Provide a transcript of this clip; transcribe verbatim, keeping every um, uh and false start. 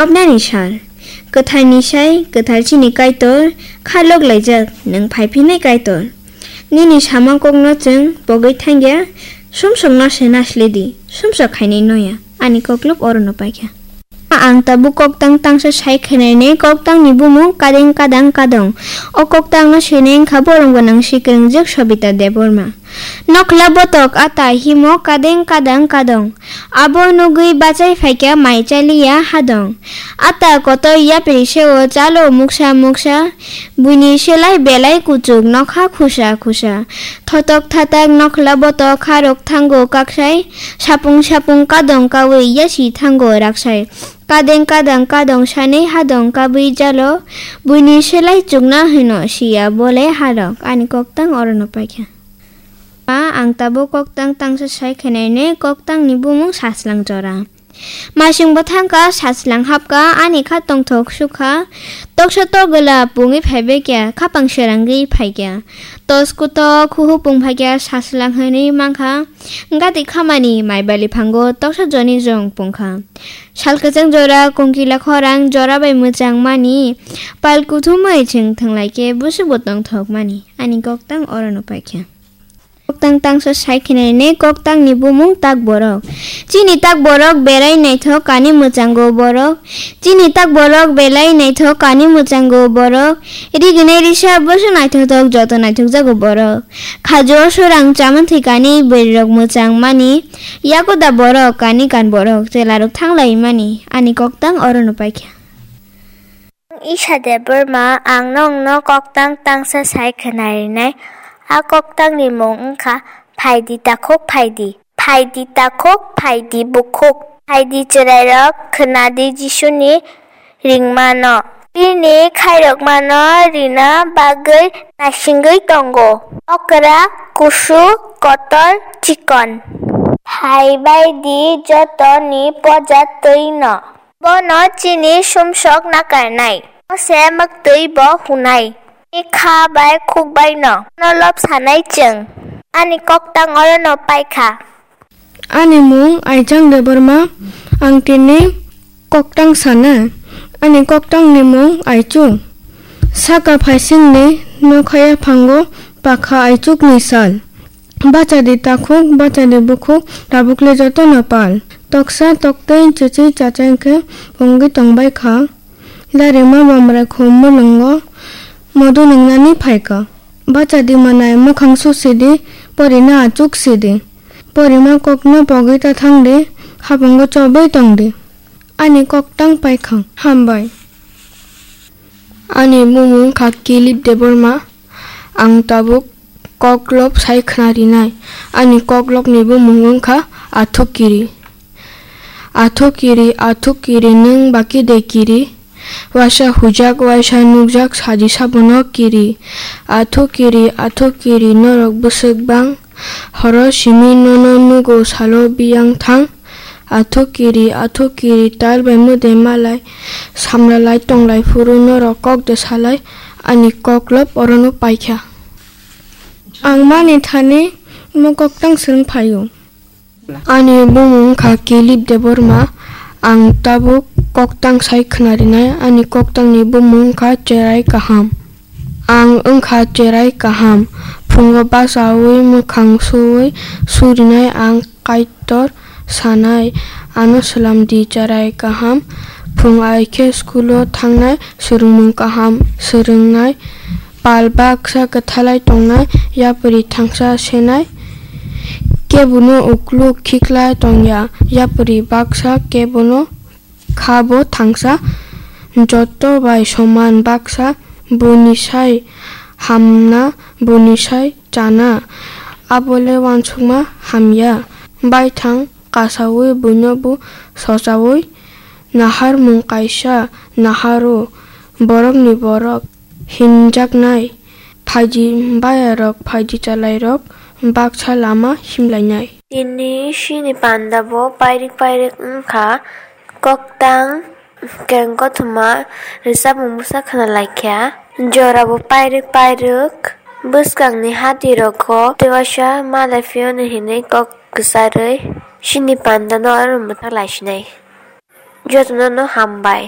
Nani sal, kwtharni sai kwthar chini Kaitor, kha lok laijak nwng phai phinai Kaitor. Nini sama kokno chwng pogwi thangya, sumsokno se nasle di, sumsok khainai noya, ani koklop orono paikha. Ang tabuk koktang tangsa sai khenainai, koktangni bumung Kadeng Kadang Kadong. O koktangno sinai wngkha borok gwnang sikwrwngjak Sobita Debbarma. Nokhla botok ata himo Kadeng Kadang Kadong. Abo nugwi bachai phaikha mai chaliya hadong. Ata kotor yapri seo chalo muksa muksa. Buini selai belai kuchuk nokha khusa khusa. Thotok thatak nokhla botok kharok thango kaksai. Sapung sapung kadong kawi yasi thango raksai. Kadeng Kadang Kadong sanwi hadong kabwi jalo. Buini selai chukna hwno siya bole harok. Ani koktang orono paikha. Ma, ang tabuk koktang tangsa sai khenainai, koktangni bumung Sachwlang Jora. Masing bo thangkha, Sachwlang hapkha, ani kha tongthok sukha. Toksa togwla pungwi phaibaikha, khapang serangwi phaikha. Tos kutok khuhu pung phaikha, Sachwlang hwnwi mankha. Gati khamani mai bali phango toksa joni jong pungkha. Sal kwchang jora, kongkila khorang jora bai mwchang mani. Pal kuthumwi chwng thwnglaikhe, busuk bo tongthok mani. Ani koktang orono paikha. Koktang tangsa sai khenainai, koktangni bumung Tak Borok. Chini Tak Borok belai naithok kani mwchango borok. Chini Tak Borok belai naithok kani mwchango borok. Riginai risa boso naithothok joto naithokjago borok. Khajo sorang chamani thwikani bwrwirok mwchang mani. Yakoda borok kani kan borok chelarok thanglai mani. Ani koktang orono paikha. Ang Isha Debbarma, ang nokno koktang tangsa sai khwnarinai. A koktangni mung wngkha Phaidi Takhuk Phaidi. Phaidi takhuk, phaidi bukhuk. Phaidi chwrairok, khwnadi Jisuni ringmano. Bini khairokmano rina bagwi naisingwi tongo. Okra, kusu, kotor, chikon. Phaibaidi jotoni poja twino. Bono chini sumsok nakarnai. Bo se mwktwi bo hunai. Ni kha bai khuk bai no. No lop sanai chwng. Ani koktang orono paikha. Ani mung Aichang Debbarma, ang tini koktang sana. Ani koktangni mung Aichuk. Saka phaisingni nokhaya phango pakha Aichukni sal. Bachadi takhuk, bachadi bukhuk, tabukle jotono pal. Toksa toktwi chichi chachai khe pungwi tongbai kha. Larima bamrai khum mulungo modu nwngnani phaikha. Bachadi manai mwkhang susidi, porina achuk sidi. Porima kokno pogwi ta thangdi, hapungo chobwi tongdi. Ani koktang paikha, hambai. Ani bumung kha Kilip Debbarma. Ang tabuk koklop sai khwnarinai. Ani koklopni bumung wngkha Athukiri. Athukiri, Athukiri, nwng baki de kiri? Waisa hujak, waisa nukjak, saji sabono kiri. Athukiri, Athukiri, norok bwswk bang. Horo simi nono nugo salo biyang thang. Athukiri, Athukiri, tal bai mwdai malai, samralai tonglai phuru norok kok de salai, ani koklop orono paikha. Ang mani thani mo koktang swrwng phaio. Ani bumung wngkha Kilip Debbarma, ang tabuk koktang sai khwnarinai, ani koktangni bumung wngkha Cherai Kaham. Ang wngkha cherai kaham, phungo bachaui mwkhang suui surinai ang Kaitor sanai, ano swlamdi cherai kaham. Phung ai khe school-o thangnai, swrwngmung kaham swrwngnai, pal baksa kwthalai tongnai, yapri thangsa senai, kebono ukluk khiklai tongya, yapri baksa kebono kha bo thangsa, joto bai soman baksa, buini sai hamna, buini sai chana, abole uansukma hamya. Baithang kasaui buino bo sochaui, naharmung kaisa naharo, borokni borok hinjaknai, phaidi bayarok, phaidi chalairok baksa lama himlainai. Tini chini panda bo pairik pairik wngkha, koktang keng kothoma rwchapmung bwsa khwnalaikha, jora bo pairik pairik, bwskangni hati rogo tei waisa malai phiyoni hinwi kok kwcharwi chini panda no oro mwthang laisinai. Jotono no hambai.